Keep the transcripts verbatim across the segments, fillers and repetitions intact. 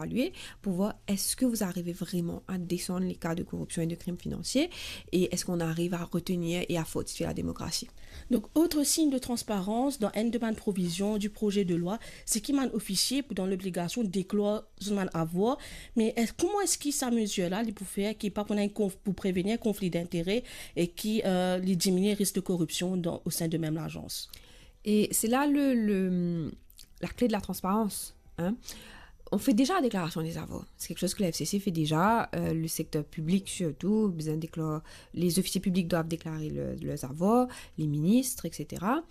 évaluer pour voir est-ce que vous arrivez vraiment à descendre les cas de corruption et de crimes financiers et est-ce qu'on arrive à retenir et à fortifier la démocratie. Donc, autre signe de transparence dan enn de bann provizion du projet de loi, se ki bann ofisie pou dan lobligasion deklor zot bann avwar. Me es, kouma eski sa mezir la li pou fer ki pa pou ena enn konf-, pou prevenir konfli dintere e ki, euh, li diminie risk de koripsion dan, au sein de mem lazans? Et c'est là le, le, la clé de la transparence, hein. On fait déjà la déclaration des avoirs. C'est quelque chose que la F C C fait déjà. Euh, le secteur public surtout, besoin de déclarer, les officiers publics doivent déclarer le- leurs avoirs, les ministres, et cetera.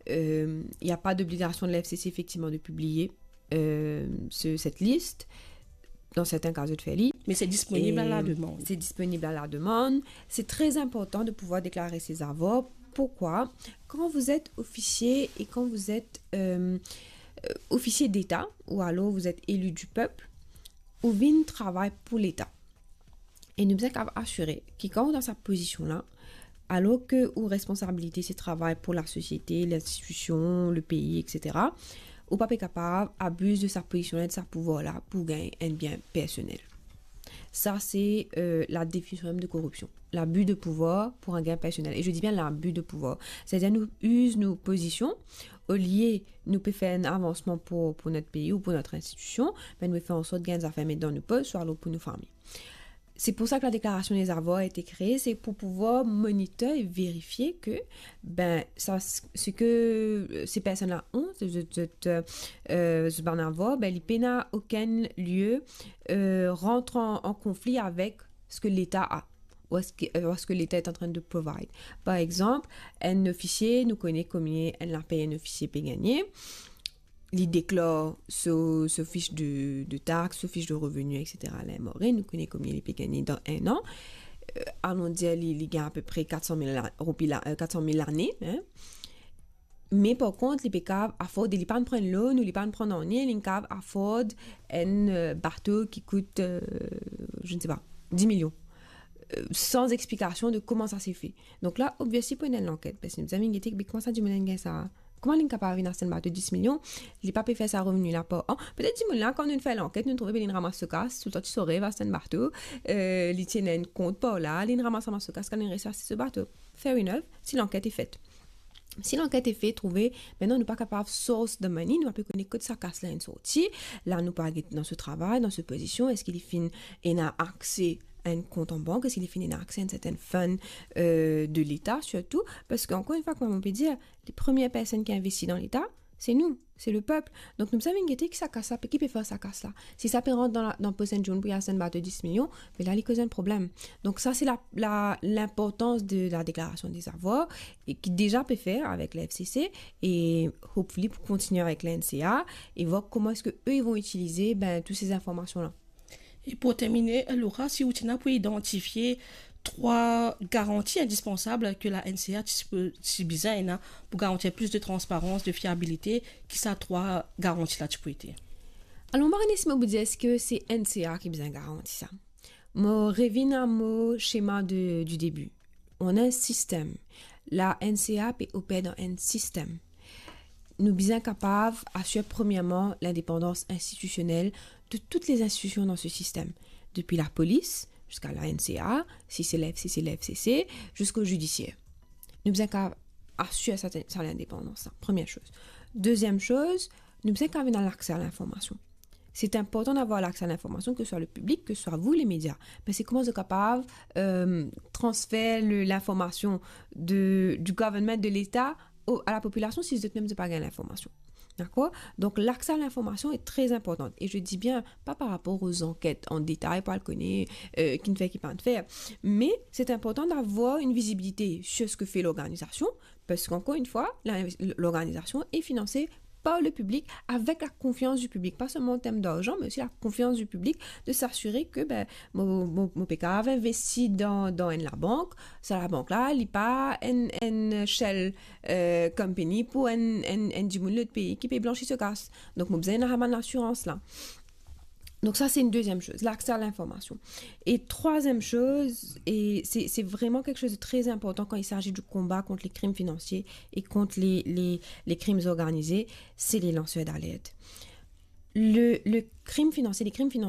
Euh, Il n'y a pas d'obligation de la F C C effectivement de publier euh, ce- cette liste. Dans certains cas, zot fer li. Me se disponib a la demann. C'est disponible à la demande. C'est très important de pouvoir déclarer ses avoirs. Pourquoi ? Quand vous êtes officier et quand vous êtes euh, euh, officier d'État, ou alors vous êtes élu du peuple, ou vinn travay pou Leta. E nou bizin kapav asire ki kan ou dan sa pozision la, alors que ou responsabilité se travay pou lasosiete, linstitision, lepei, et cetera, ou pa pe kapav abiz de sa pozision la, de sa pouvwar la pou gagn enn bien personel. Sa se euh, la definision mem de koripsion. L'abus de pouvoir pour un gain personnel. Et je dis bien l'abus de pouvoir. C'est-à-dire nou iz nou pozision, olie nou pe fer enn avansman pou, pou nou pei ou pou nou institision, ben nou fer an sort gagn zafer met dan nou pos, swa alor pou nou fami. C'est pour ça que la déclaration des avoirs a été créée, c'est pour pouvoir moniteur et vérifier que, ben, ça, ce que euh, ces personnes-là ont, ce, ce, ce, euh, ce bann avwar, ben, li pena aucun lieu euh, rentre en, en conflit avec ce que l'État a, ou est-ce que, euh, ou est-ce que l'État est en train de provide. Par exemple, un officier, nou kone komie enn lapey un officier pe gagne, li deklor so, so fich de, de tax, so fich de revenu, et cetera. Ler mor, nou kone komie li pe gagne dan enn an. Euh, allons dire, li, li gagn apepre quatre cent mille la- roupi la, euh, quatre cent mille lane, hein. Me par kont, li pe kapav afford, li pa pran loan ou li pa pran nanye, li kapav afford enn euh, bato ki kout, euh, je ne sais pas, dix millions. Euh, sans explication de comment ça s'est fait. Donc là, obviously, pou ena enn lanket, parski nou bizin gete, me kouma sa dimoun la gagn sa? Kouma li kapav vinn aste enn bato dix millions, li pa pe fer sa revenu la par an? Petet dimoun la, kan nou fer lanket, nou trouve, be, li ramas so kas, toultan ti so rev aste enn bato, euh, li ti ena enn kont par la, li ramas, ramas so kas, kan li resi aste so bato. Fair enough, si lanket est faite. Si lanket est faite, trouve, aster nou pa kapav source the money, nou pa pe kone kot sa kas la inn sorti. La, nou pa get dan so travay, dan so pozision, eski li finn ena akse a enn kont an bank, eski li finn ena akse a enn serten fund euh, de Leta, sirtou, parski, ankor enn fwa, kouma mo pe dir, les premières personnes ki investi dan Leta, se nou, se lepep. Donk, nou bizin vinn gete ki sa kas la, ki pe fer sa kas la. Si sa pe rant dan la, dan pos enn dimoun pou li aste enn bato dix millions, be la, li koz enn problem. Donk, sa, se la, la, linportans de la deklarasion de avoirs, e ki deza pe fer avek la F C C, e hopefully pou kontinie avek la N C A, e vwar kouma eski eux, ils vont utiliser, ben, toutes ces informations-là. E pou termine, Laura, si ou ti ena pou idantifie trwa garanti indispansab ke la N C A ti, ti bizin ena pou garantir plis de transparans, de fiabilite, ki sa trwa garanti la ti pou ete? Alor, mo pa kone si mo pou dir eski se N C A ki bizin garanti sa. Mo revinn a mo schema de, du début. On a un système. La N C A pe oper dan enn sistem. Nou bizin kapav asir, premièrement, l'indépendance institutionnelle de toutes les institutions dans ce système, depuis la police jusqu'à la N C A, si se la F C C, la F C C, jusqu'au judiciaire. Nou bizin kapav asir sa, sa lindepandans la, première chose. Deuxième chose, nou bizin kapav ena lakse a linformasion. C'est important d'avoir l'accès à l'information, que ce soit le public, que ce soit vous, les médias. Parski kouma zot kapav euh, transfer le, l'information de, du gouvernement, de l'État au, à la population si zot mem zot pa gagn l'information? D'accord? Donc, l'accès à l'information est très important. Et je dis bien, pas par rapport aux enquêtes en détail, pou al kone euh, ki inn fer, ki pa inn fer. Mais c'est important d'avoir une visibilité sur ce que fait l'organisation, parce qu'encore une fois, la, l'organisation est financée par le public, avec la confiance du public, pas seulement en termes d'argent, mais aussi la confiance du public, de s'assurer que, ben, mo, mo, mo pe kapav investi dan, dan enn labank, sa labank la, li pa enn, enn shell euh, company pou enn, enn, enn dimoun lot pei ki pe blansi so kas. Donk, mo bizin ena sa bann lasirans la. Donc ça, c'est une deuxième chose, l'accès à l'information. Et troisième chose, et c'est, c'est vraiment quelque chose de très important quand il s'agit du combat contre les crimes financiers et contre les, les, les crimes organisés, c'est les lanceurs d'alerte. Le, le crime financier, les crimes financiers,